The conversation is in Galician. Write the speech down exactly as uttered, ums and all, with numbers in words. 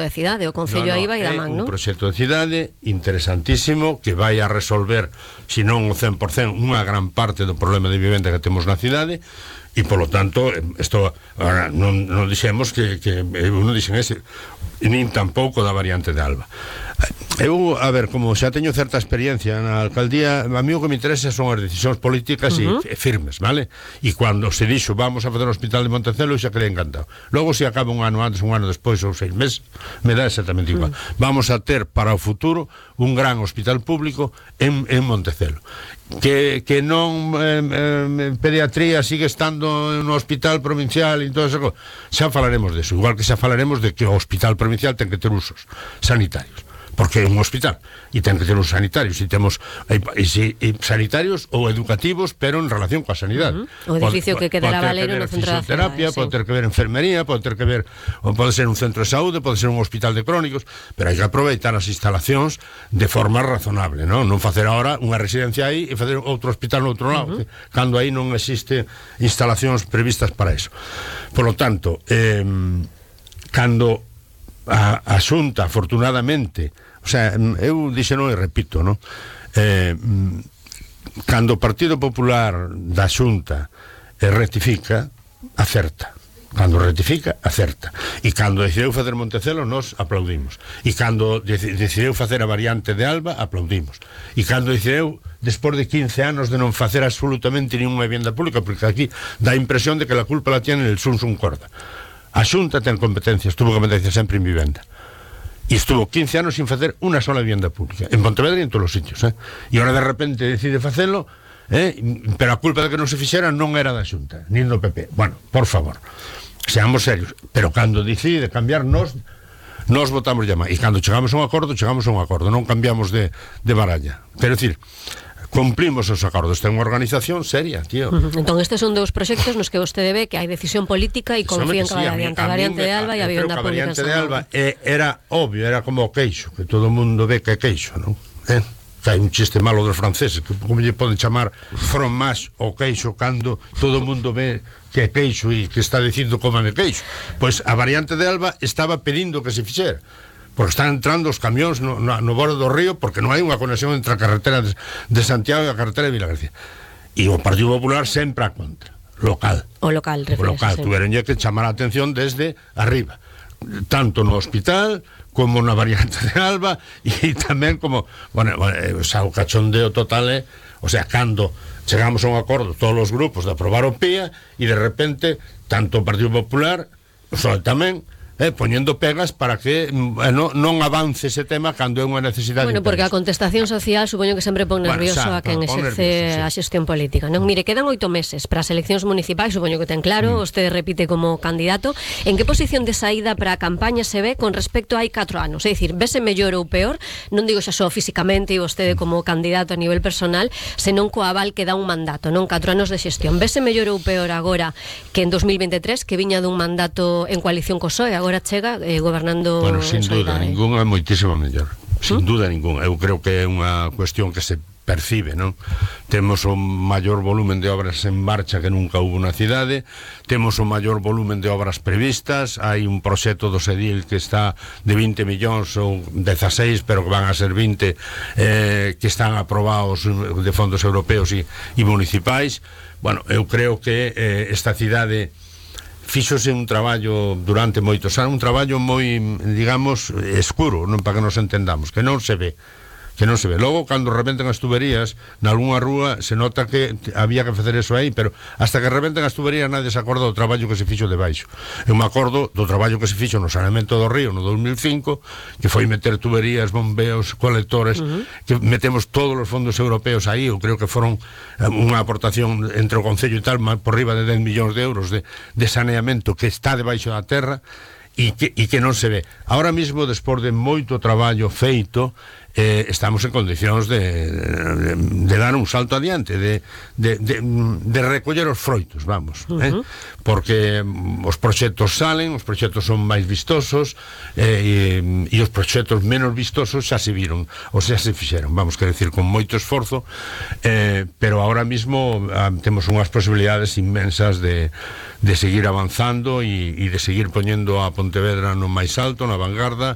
de cidade, o Concello no, no, aí vai da man, non? É un non? proxecto de cidade interesantísimo que vai a resolver, se non o cen por cen, unha gran parte do problema de vivenda que temos na cidade. E polo tanto, isto agora non, non dixemos que, que eu non dixen ese, nin tampouco da variante de Alba. Eu, a ver, como xa teño certa experiencia na alcaldía, a mí o que me interesa son as decisións políticas uh-huh. e firmes, vale? E cando se dixo vamos a fazer o hospital de Montecelo, xa quedei encantado. Logo, se acaba un ano antes, un ano despois ou seis meses, me dá exactamente igual. Uh-huh. Vamos a ter para o futuro un gran hospital público en, en Montecelo. Que, que non eh, eh, pediatría sigue estando no hospital provincial e todo eso, xa falaremos deso, igual que xa falaremos de que o hospital provincial ten que ter usos sanitarios, porque é un hospital e ten que ter usos sanitarios, e temos e, e, e, sanitarios ou educativos, pero en relación coa sanidade. Uh-huh. O edificio pode, que quedará Valero no centro da fisioterapia, pode ter que ver enfermería, pode ter que ver, pode ser un centro de saúde, pode ser un hospital de crónicos, pero hai que aproveitar as instalacións de forma razonable, non? Non facer agora unha residencia aí e facer outro hospital no outro lado, uh-huh. cando aí non existe instalacións previstas para eso. Por lo tanto, eh, cando a, a Xunta, afortunadamente, o sea, eu dixeno e repito, non? Eh, cando o Partido Popular da Xunta eh, rectifica, acerta. Cando rectifica, acerta. E cando decideu facer Montecelo, nos aplaudimos. E cando decideu facer a variante de Alba, aplaudimos. E cando decideu, despois de quince anos de non facer absolutamente ninguna vivienda pública, porque aquí dá a impresión de que la culpa la tiene el Sun Sun Corda. A Xunta ten competencias, tuvo competencias sempre en vivenda. E estuvo quince anos sin facer unha sola vivienda pública en Pontevedra e en todos os sitios, eh? E ahora de repente decide facelo, eh? Pero a culpa de que non se fixera non era da Xunta, nin do P P. Bueno, por favor, seamos serios. Pero cando decide cambiar, nos nos votamos llama. E cando chegamos a un acordo, chegamos a un acordo, non cambiamos de, de baralla. Quero dicir, cumplimos os acordos, ten unha organización seria, tío. Uh-huh. Entón, estes son dous proxectos nos que vostede ve que hai decisión política e confía en que vai adiante a variante de Alba e a vivenda pública. A variante de Alba era obvio, era como o queixo, que todo o mundo ve que é queixo, non? Eh? Que hai un chiste malo dos franceses, que como lle poden chamar fromage o queixo cando todo o mundo ve que é queixo e que está dicindo coman de queixo. Pois a variante de Alba estaba pedindo que se fixera, porque están entrando os camións no, no, no borde do río, porque non hai unha conexión entre a carretera de, de Santiago e a carretera de Vilagarcía. E o Partido Popular sempre a contra, local. O local, o local, tuveronlle que chamar a atención desde arriba, tanto no hospital como na variante de Alba, e tamén como, bueno, o sea, o cachondeo total é, o sea, cando chegamos a un acordo todos os grupos de aprobar o P I A, e de repente, tanto o Partido Popular, o sea, tamén, Eh, poñendo pegas para que eh, no, non avance ese tema cando é unha necesidade. Bueno, porque a contestación social supoño que sempre pon nervioso bueno, xa, a quen exerce nervioso, sí. a xestión política, non? Mire, quedan oito meses para as eleccións municipais, supoño que ten claro, mm. vostede repite como candidato. En que posición de saída para a campaña se ve con respecto a hai catro anos? É dicir, vese mellor ou peor? Non digo xa só físicamente e vostede como candidato a nivel personal, senón co aval que dá un mandato, non? Catro anos de xestión. Vese mellor ou peor agora que en dos mil veintitrés, que viña dun mandato en coalición co P S O E, agora chega eh, gobernando. Bueno, sin duda, ninguna, moitísimo mellor. Sin ¿Mm? duda ninguna. Eu creo que é unha cuestión que se percibe, non? Temos o maior volumen de obras en marcha que nunca hubo na cidade, temos o maior volumen de obras previstas, hai un proxecto do Sedil que está de vinte millóns ou dezasseis, pero que van a ser vinte, eh, que están aprobados de fondos europeos e, e municipais. Bueno, eu creo que eh, esta cidade fíxose un traballo durante moitos anos, un traballo moi, digamos, escuro, non, para que nos entendamos, que non se ve, que non se ve. Logo, cando rebenten as tuberías nalgúna rúa, se nota que había que facer eso aí, pero hasta que rebenten as tuberías nadie se acorda do traballo que se fixo debaixo. Eu me acordo do traballo que se fixo no saneamento do río no dos mil cinco, que foi meter tuberías, bombeos, colectores, uh-huh. que metemos todos os fondos europeos aí. Eu creo que foron unha aportación entre o Concello e tal, por riba de dez millóns de euros de, de saneamento que está debaixo da terra, e que, e que non se ve. Ahora mismo, despois de moito traballo feito, eh, estamos en condicións de, de, de dar un salto adiante, de, de, de, de recoller os froitos, vamos, uh-huh. eh? Porque os proxectos salen, os proxectos son máis vistosos, eh, e, e os proxectos menos vistosos xa se viron, ou xa se fixeron, vamos, quer decir, con moito esforzo, eh, pero ahora mismo ah, temos unhas posibilidades inmensas de, de seguir avanzando e, e de seguir poñendo a Pontevedra no máis alto, na vanguarda,